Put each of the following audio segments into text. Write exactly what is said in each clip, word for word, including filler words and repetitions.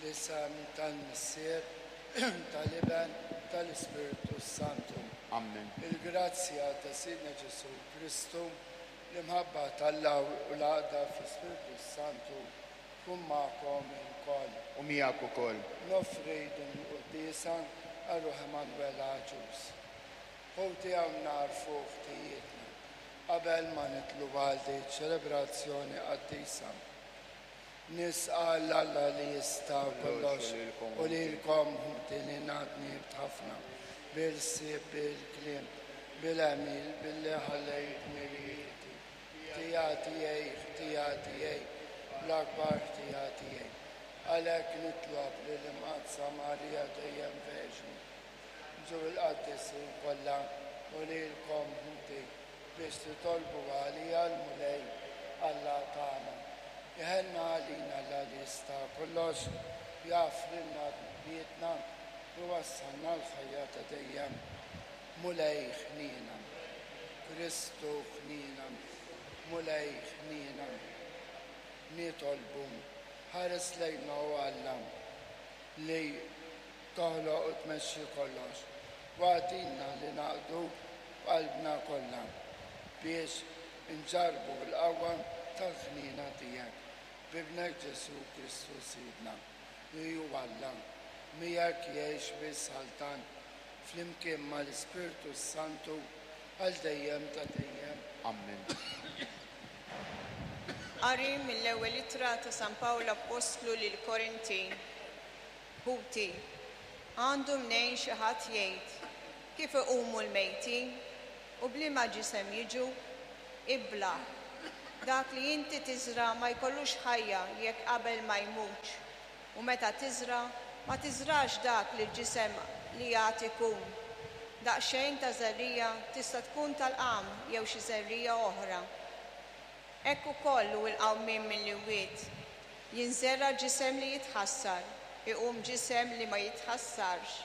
Fl-isem tal-Missier, tal-Iben, tal-Ispirtu Santu. Amen. Il-grazzja ta' Sidna Ġesù Kristu, l-imħabba t'Alla u l-għaqda fl-Ispirtu Santu tkun magħkom ilkoll. U miegħek ukoll. Noffri din il-quddiesa għal ruħ Emanuel Agius. Ħuti, hawn nagħrfu ħtijietna qabel ma nidħlu għal din ċelebrazzjoni qaddisa. Nis'al Alla li jista' kollox u lilkom, ħuti, li naf li dnibt ħafna bil-ħsieb, bil-kliem, bil-għemil, billi ħallejt dmirijieti. Ħtija tiegħi, ħtija tiegħi, l-akbar ħtija tiegħi. Għalhekk nitlob lill-Imqaddsa Marija dejjem Verġni, u l-qaddisin kollha u lilkom, ħuti, biex titolbu għalija lill-Mulej Alla tagħna. Iħenn għalina Alla li jista' kollox, jaħfrilna dnubietna u jwassalna għall-ħajja ta' dejjem. Mulej ħnina. Kristu ħnina. Mulej ħnina. Nitolbu, ħares lejna, o Alla, li toħloq u tmexxi kollox. U agħtina li naqduk b'qalbna kollha biex inġarbu l-qawwa tal-ħnina tiegħek. B'Ibnek Ġesù Kristu Sidna, li hu Alla, miegħek jgħix u jsaltan flimkien mal-Ispirtu Santu għal dejjem ta' dejjem. Amen. Qari mill-ewwel ittra ta' San Pawl Appostlu lil Korintin. Ħuti, għandu mnejn xi ħadd jgħid: "Kif iqumu l-mejtin u b'liema ġisem jiġu?" Iblah. Dak li inti tiżra ma jkollux ħajja jekk qabel ma jmutx. U meta tiżra, ma tiżrax dak li l-ġisem li għad ikun. Daqsxejn ta' żerriegħa tista' tkun tal-qamħ jew xi żerriegħa oħra. Hekk ukoll hu l-qawmien mill-imwiet. Jinżera ġisem li jitħassar, iqum ġisem li ma jitħassarx.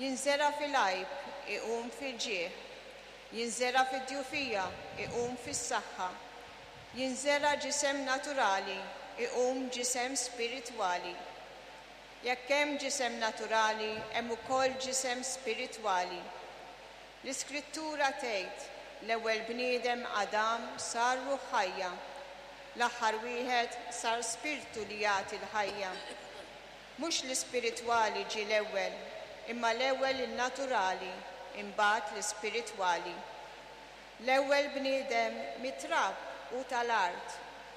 Jinżera fil-għajb, iqum fil-ġieħ. Jinżera fid-djufija, iqum fis-saħħa. Jinżera ġisem naturali, iqum ġisem spiritwali. Jekk hemm ġisem naturali, hemm ukoll ġisem spiritwali. L-Iskrittura tgħid: "L-ewwel bniedem Adam sar ruħ ħajja, l-aħħar wieħed sar spirtu li jagħti l-ħajja." Mhux l-ispiritwali ġie l-ewwel, imma l-ewwel il-naturali, imbagħad l-ispiritwali. L-ewwel bniedem mit-trab u tal-art,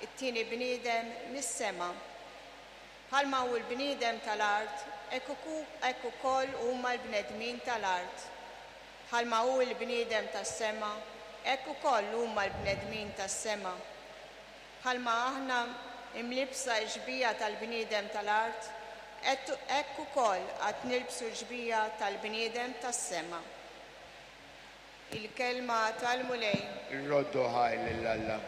it-tieni bniedem mis-sema. Bħalma hu l-bniedem tal-art, hekk ukoll huma l-bnedmin tal-art. Bħalma hu l-bniedem tas-sema, hekk ukoll huma l-bnedmin tas-sema. Bħalma aħna imlibsa x-xbieha tal-bniedem tal-art, hekk ukoll għad nilbsu x-xbieha tal-bniedem tas-sema. Il-kelma tal-Mulej. Irroddu ħajr lil Alla.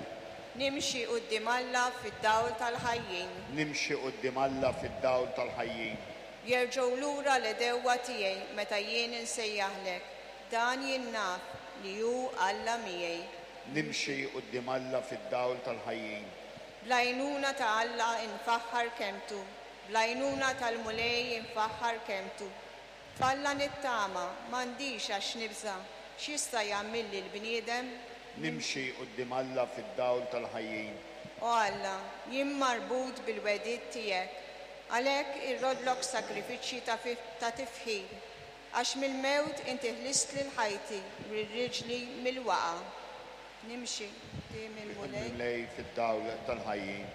Nimxi quddiem Alla fid-dawl tal-ħajjin. Nimxi quddiem Alla fid-dawl tal-ħajjin. Jerġgħu lura l-għedewwa tiegħi meta jien insejjaħlek. Dan jien naf li hu Alla miegħi. Nimxi quddiem Alla fid-dawl tal-ħajjin. Bl-għajnuna ta' Alla infaħħar kelmtu, bl-għajnuna tal-Mulej infaħħar kelmtu. F'Alla nittama, m'għandix għax nibża', x'jista' jagħmilli l-bniedem? Nimxi quddiem Alla fid-dawl tal-ħajjin. O Alla, jien marbut bil-wegħdiet tiegħek, għalhekk irrodlok sagrifiċċji ta' tifħir, għax mill-mewt inti ħlist lil ħajti u riġli mill-waqgħa. Nimxi quddiem il-Mulej. Il-Mulej fid-dawl tal-ħajjin.